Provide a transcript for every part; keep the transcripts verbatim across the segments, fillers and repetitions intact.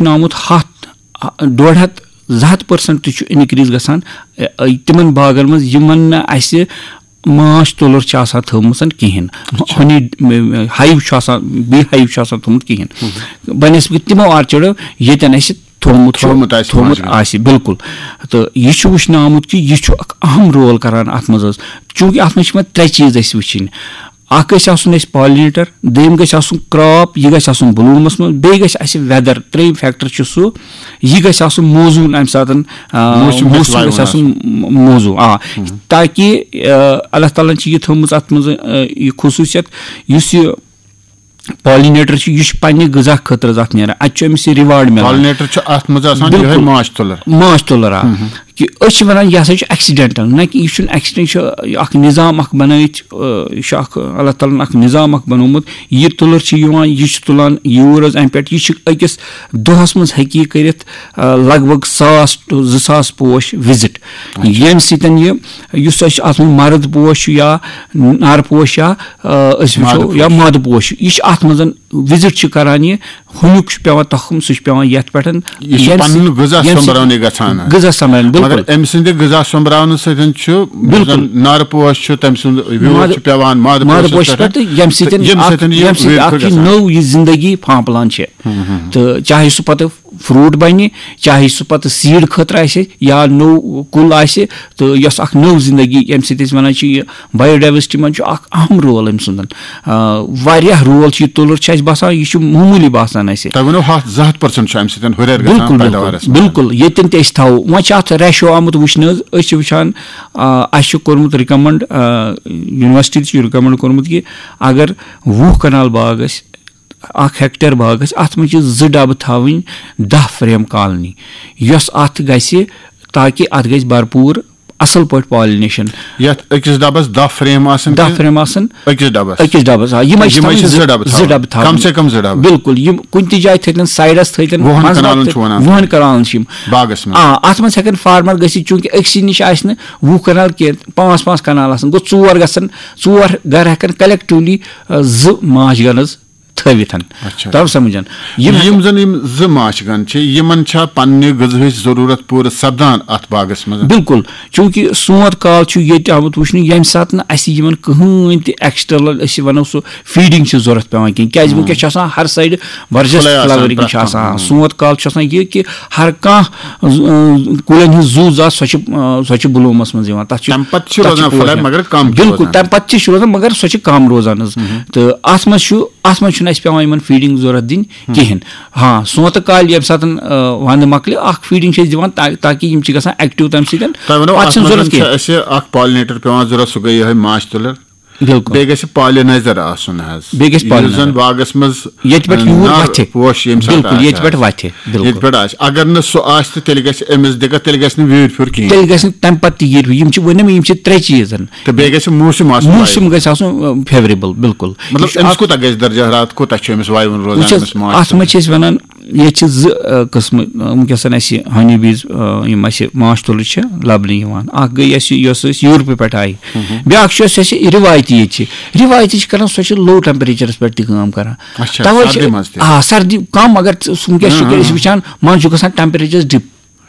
وٕچھنہٕ آمُت ہَتھ، ڈۄڈ ہَتھ، زٕ ہَتھ پٔرسنٹ تہِ چھُ اِنکریٖز گژھان، اَ، اَ، تِمن باغن منٛز، یِمن نہٕ اَسہِ ماچھ تُلر چھِ آسان تھٲومٕژ کِہینۍ، ہنی ہایو چھُ آسان، بی ہایو چھُ آسان تھوٚمُت کِہینۍ، بنسبت تِمو آرچڈو ییٚتٮ۪ن اَسہِ تھوٚومُت چھُ، تھوٚومُت آسہِ تھوٚومُت ماچھ گنہٕ۔ آسہِ، بالکل۔ تہٕ یہِ چھُ وٕچھنہٕ آمُت کہِ یہِ چھُ اکھ اہم رول کران اَتھ منٛز حظ، چوٗنٛکہِ اَتھ منٛز چھِ یِوان ترٛےٚ چیٖز اَسہِ وٕچھِنۍ۔ اکھ گژھِ آسُن اَسہِ پالِنیٹر، دوٚیِم گژھِ آسُن کراپ، یہِ گژھِ آسُن بلوٗمَس منٛز، بیٚیہِ گژھِ اَسہِ ویدر، ترٛیٚیِم فیکٹر چھُ سُہ، یہِ گژھِ آسُن موزوٗن اَمہِ ساتہن، آ، موسم گژھِ موسم وَیُن گژھِ آسُن آسُن۔ م-، موزوٗن، آ، تاکہِ، آ، اللہ تعالیٰ ہن چھِ یہِ تھٲومٕژ اَتھ منٛز، آ، یہِ خصوٗصیت، یُس یہِ پالِنیٹر چھُ، یہِ چھُ پننہِ غذا خٲطرٕ حظ اَتھ نیران، اَتہِ چھُ أمِس یہِ ریوارڈ مِلان۔ پالِنیٹر چھُ اَتھ منٛز آسان یِہوٚے بالکل۔ ماچھ تُلر۔ ماچھ تُلر، آ۔ کہِ أسۍ چھِ وَنان، یہِ ہسا چھُ ایکسیڈنٹل، نہ کہِ یہِ چھُنہٕ ایکسیڈنٹ، یہِ چھُ اکھ نظام اکھ بنٲوِتھ، آ، یہِ چھُ اکھ اللہ تعالیٰ ہن اکھ نظام اکھ بنوومُت۔ یہِ تُلر چھِ یِوان، یہِ چھُ تُلان یوٗر حظ اَمہِ پٮ۪ٹھ، یہِ چھِ أکِس دۄہس منٛز ہیٚکہِ یہِ کٔرِتھ، آ، لگ بگ ساس to زٕ ساس پوش وِزِٹ، ییٚمہِ سۭتۍ یہِ، یُس اَسہِ اَتھ منٛز مرد پوش چھُ یا نر پوش یا، آ، أسۍ وٕچھو مادٕ یا پوش۔ مادٕ پوش، یہِ چھُ اَتھ منٛز وِزِٹ چھُ کران یہِ، ہُمیُک چھُ پٮ۪وان تخم، سُہ چھُ پٮ۪وان یَتھ پٮ۪ٹھ، یہِ چھُ ییٚمہِ پَنُن سۭتۍ، غذا ییٚمہِ سۄمبراونٕے سۭتۍ گژھان حظ۔ غذا سۄمبراوُن، مگر بالکل۔ أمۍ سٕنٛدِ غذا سۄمبراونہٕ سۭتۍ چھُ، یُس بالکل۔ زَن نارٕ پوش چھُ، تٔمۍ سُنٛد ویوٗٹھ مادٕ، چھُ پٮ۪وان مادٕ مادٕ پوشَس پوشَس پٮ۪ٹھ، پٮ۪ٹھ، تہٕ ییٚمہِ سۭتۍ ییٚمہِ اَکھ، سۭتۍ یہِ ییٚمہِ سۭتۍ ویٖر اَکھ چھُ یہِ گژھان۔ نٔو یہِ زِندگی پھانٛپلان چھِ۔ تہٕ چاہے سُہ پَتہٕ فروٗٹ بَنہِ، چاہے سُہ پَتہٕ سیٖڈ خٲطرٕ آسہِ یا نوٚو کُل آسہِ، تہٕ یۄس اَکھ نٔو زِندگی، ییٚمہِ سۭتۍ أسۍ وَنان چھِ، یہِ بایو ڈایورسٹی منٛز چھُ اکھ اہم رول أمۍ سُنٛدن۔ آ، واریاہ رول چھُ یہِ تُلُر چھُ اَسہِ باسان، یہِ چھُ معموٗلی باسان اَسہِ۔ تۄہہِ ووٚنوُ ہَتھ، زٕ ہَتھ پٔرسنٹ چھُ اَمہِ سۭتۍ ہُرٮ۪ر گژھان بالکل، بالکل، پیداوارَس منٛز۔ بالکل۔ ییٚتٮ۪ن تہِ أسۍ تھاوو، وۄنۍ چھُ اَتھ ریشو آمُت وٕچھنہٕ حظ، أسۍ چھِ وٕچھان، آ، اَسہِ چھُ کوٚرمُت رِکمنڈ، آ، یونیورسٹی تہِ چھُ رِکمنڈ کوٚرمُت کہِ اگر وُہ کنال باغ آسہِ، اکھ ہیکٹر باغ آسہِ، اَتھ منٛز چھِ زٕ ڈبہٕ تھاوٕنۍ، دَہ فریم کالنی، یۄس اَتھ گژھِ، تاکہِ اَتھ گژھِ بھرپوٗر اَصٕل پٲٹھۍ پالِنیشن۔ یَتھ أکِس ڈبَس دَہ فریم آسَن دَہ کِنہٕ فریم آسَن أکِس ڈبَس؟ أکِس ڈبَس، آ، یِمَے چھِ یِمَے تھاوٕنۍ چھِ زٕ، زٕ ڈبہٕ زٕ تھاوٕنۍ۔ ڈبہٕ تھاوٕنۍ۔ کَم سے کَم زٕ ڈبہٕ بِلکُل، تھاوٕنۍ۔ یِم کُنہِ تہِ جایہِ تھٲوِتَن سایڈَس تھٲوِتَن، وُہَن منٛزٕ کنالَن تہٕ چھُ وَنان۔ وُہَن کنالَن چھِ یِم۔ باغَس منٛز۔ آ، اَتھ منٛز ہٮ۪کَن فارمر گٔژھِتھ، چوٗنٛکہِ أکسٕے نِش آسہِ نہٕ وُہ کنال کینٛہہ، پانٛژھ پانٛژھ کنال آسَن، گوٚو ژور گژھن، ژور گرٕ ہٮ۪کَن کَلیکٹِولی، آ، زٕ ماچھ گَنہٕ حظ تھٲوِتھ۔ اچھا۔ تَو سَمجھان۔ یِم یِم ہٮ۪کَن زَن یِم زٕ ماچھ گَنہٕ چھِ، یِمَن چھا پننہِ غذہٕچ ضروٗرت پوٗرٕ سپدان اَتھ باغَس منٛز؟ بِلکُل، چوٗنٛکہِ سونٛتھ کال چھُ ییٚتہِ آمُت وٕچھنہٕ، ییٚمہِ ساتہٕ نہٕ اَسہِ یِمَن کٕہٕنۍ تہِ ایکسٹرنل، أسۍ وَنو سُہ فیٖڈِنٛگ چھِ ضوٚرَتھ پٮ۪وان کِہیٖنۍ، کیٛازِ وٕنکیٚس چھِ آسان ہر سایڈٕ ورجس کھُلَے آسان فلاورِنٛگ پرٛٮ۪تھ چھِ کانٛہہ۔ آسان۔ ہُم۔ سونٛتھ کال چھُ آسان یہِ کہِ ہر کانٛہہ، ز-، کُلٮ۪ن ہٕنٛز زُو زا سۄ چھِ، سۄ چھِ بلوٗمَس منٛز یِوان، تَتھ چھُ، تَمہِ پَتہٕ چھِ تَتھ چھِ روزان پوش پھٕلے، نیران۔ مگر کَم چھِ بِلکُل، روزان۔ تَمہِ پَتہٕ تہِ چھِ روزان، مگر سۄ چھِ کَم روزان حظ۔ تہٕ اَتھ منٛز چھُ، اَتھ منٛز چھُنہٕ اَسہِ پٮ۪وان یِمَن فیٖڈِنٛگ ضوٚرَتھ دِنۍ کِہیٖنۍ۔ ہاں، سونٛتہٕ کالہِ ییٚمہِ ساتَن، آ، وَنٛدٕ مۄکلہِ، اَکھ فیٖڈِنٛگ چھِ أسۍ دِوان تا-، تاکہِ یِم چھِ گژھان ایکٹِو تَمہِ سۭتۍ۔ تۄہہِ وَنو، پَتہٕ اَتھ چھِنہٕ منٛز ضوٚرَتھ چھِ کینٛہہ۔ اَسہِ اَکھ پالِنیٹر پٮ۪وان ضوٚرَتھ، سُہ گٔے یِہوٚے ماچھ تُلٕر۔ بِلکُل۔ بیٚیہِ گژھِ پالِنایزر آسُن حظ۔ بیٚیہِ گژھِ یُس زَن پالِنایزر۔ باغَس منٛز، ییٚتہِ پٮ۪ٹھ یوٗر نار وَتھِ۔ پوش ییٚمہِ ساتہٕ بِلکُل، آسہِ ییٚتہِ پٮ۪ٹھ حظ۔ وَتھِ۔ بِلکُل۔ ییٚتہِ پٮ۪ٹھ آسہِ۔ اگر نہٕ سُہ آسہِ تہٕ تیٚلہِ گژھِ أمِس دِقت، تیٚلہِ گژھِ نہٕ ویٖرۍ پھیُر کِہیٖنۍ۔ تیٚلہِ گژھِ نہٕ تَمہِ پَتہٕ تہِ ییٖرۍ پھیُر۔ یِم چھِ، ووٚنُم، یِم چھِ ترٛےٚ چیٖز۔ تہٕ بیٚیہِ گژھِ موسم آسُن موسم وایُن۔ گژھِ آسُن، آ، فیوریبل، بِلکُل۔ مطلب، یہِ چھُ أمِس اکھ کوٗتاہ گژھِ درجہ حرارت، کوٗتاہ چھُ أمِس وایُن روزان، وٕچھ حظ، أمِس ماچھ اَتھ منٛز تُلرِس؟ چھِ أسۍ وَنان، ییٚتہِ چھِ زٕ، آ، قٕسمہٕ، آ، وٕنکیٚس اَسہِ ہنی بیٖز، آ، یِم اَسہِ ماچھ تُلرِ چھِ لَبنہٕ یِوان۔ اَکھ گٔے اَسہِ یۄس أسۍ یوٗرپہٕ پٮ۪ٹھ آیہِ، بیٛاکھ چھُ اَسہِ، اَسہِ رِوایتی ییٚتہِ چھِ۔ رِوایتی چھِ کَران، سۄ چھِ لو ٹیمپریچرَس پٮ۪ٹھ تہِ کٲم کَران۔ اچھا، تَوَے چھِ، سردی منٛز تہِ؟ آ، سردی کَم، مگر ژٕ، وٕنکیٚس چھِ ہاں، أسۍ ہاں۔ وٕچھان، منٛزٕ چھُ گژھان ٹیمپریچر ڈِپ۔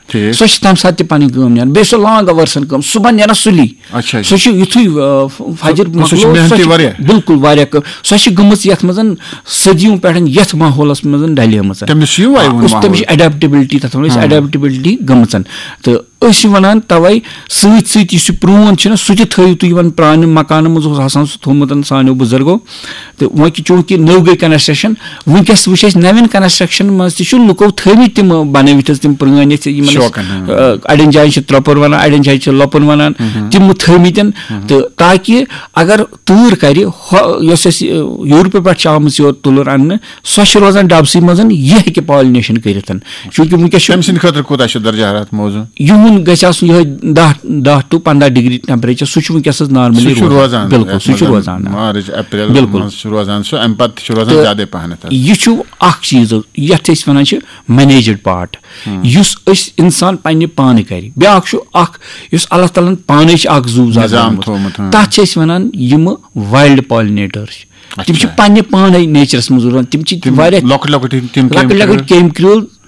ٹھیٖک۔ سۄ چھِ تَمہِ ساتہٕ تہِ پَنٕنۍ کٲم نیران۔ بیٚیہِ سۄ لانٛگ آوٲرٕسَن کٲم، صُبحن نیران سُلی۔ اچھا، اچھا۔ سۄ چھِ یُتھُے، آ، ف-، فجر سۄ، سۄ چھِ مۄکلو، محنتی سۄ چھِ واریاہ۔ بِلکُل واریاہ کٲم۔ سۄ چھِ گٔمٕژ یَتھ منٛز صدیوں پٮ۪ٹھ یَتھ ماحولَس منٛز ڈَلیمٕژ۔ تٔمِس چھُ یہِ وَیُن آ، اس، تٔمِس چھِ ماحول۔ ایڈیپٹیبلٹی، تَتھ وَنو أسۍ ہاں۔ ایڈیپٹیبلٹی گٔمٕژ۔ تہٕ أسۍ چھِ وَنان تَوَے سۭتۍ سۭتۍ یُس یہِ پرٛون چھُنہ، سُہ تہِ تھٲیِو تُہۍ یِمَن پرٛانہِ مکانَن منٛز اوس آسان سُہ تھوٚومُت سانیو بُزرگو۔ تہٕ وۄنۍ کہِ چوٗنٛکہِ نٔو گٔے کنسٹرکشن، وٕنکیٚس وٕچھ اَسہِ نَوٮ۪ن کنسٹرکشن منٛز تہِ چھُ لُکو تھٲومٕتۍ تِم بنٲوِتھ حظ تِم پرٛٲنۍ یَتھ یِمن أسۍ، شوقن، ہاں۔ آ، اَڑٮ۪ن جاین چھِ ترٛۄپُر وَنان، اَڑٮ۪ن جاین چھِ لۄپُن وَنان، تِم تھٲومٕتٮ۪ن۔ تہٕ تاکہِ اگر تۭر کرِ، ہۄ-، یۄس اَسہِ، آ، یوٗرپہٕ پٮ۪ٹھ چھِ آمٕژ یور تُلُر اَننہٕ، سۄ چھِ روزان ڈبسٕے منٛز، یہِ ہیٚکہِ پالِنیشن کٔرِتھ۔ چوٗنٛکہِ وٕنکیٚس چھُ تٔمۍ سٕنٛدِ خٲطرٕ کوٗتاہ چھُ درجہ حرارت موزوٗن؟ یِہُنٛد گژھِ آسُن یِہوٚے دَہ، دَہ to پنٛداہ ڈگری ٹیمپریچر، سُہ چھُ وٕنکیٚس حظ نارملی سُہ چھُ روزان۔ روزان، بِلکُل، یَتھ سُہ چھُ منٛز روزان۔ مارٕچ، اپریل بِلکُل۔ منٛز چھُ روزان سُہ، اَمہِ پَتہٕ تہِ چھُ روزان تہٕ زیادَے پَہنَتھ اَتھ۔ یہِ چھُ اَکھ چیٖز حظ، یَتھ أسۍ وَنان چھِ مینیجٕڈ پارٹ، یُس أسۍ اِنسان پنٛنہِ پانہٕ کَرِ۔ بیٛاکھ چھُ اَکھ، یُس اللہ تعالیٰ ہَن پانَے چھِ اَکھ زُو زاد نظام بنومُت۔ تھوٚومُت، ہاں۔ تَتھ چھِ أسۍ وَنان یِمہٕ وایلڈ پالِنیٹٲرٕس چھِ۔ تِم چھِ اچھا۔ پنٛنہِ پانَے نیچرَس منٛز روزان۔ تِم چھِ تِم واریاہ لۄکٕٹۍ لۄکٕٹۍ یِم، تِم لۄکٕٹۍ لۄکٕٹۍ کیمۍ کرٛول۔ کیمۍ کرٛول، تِم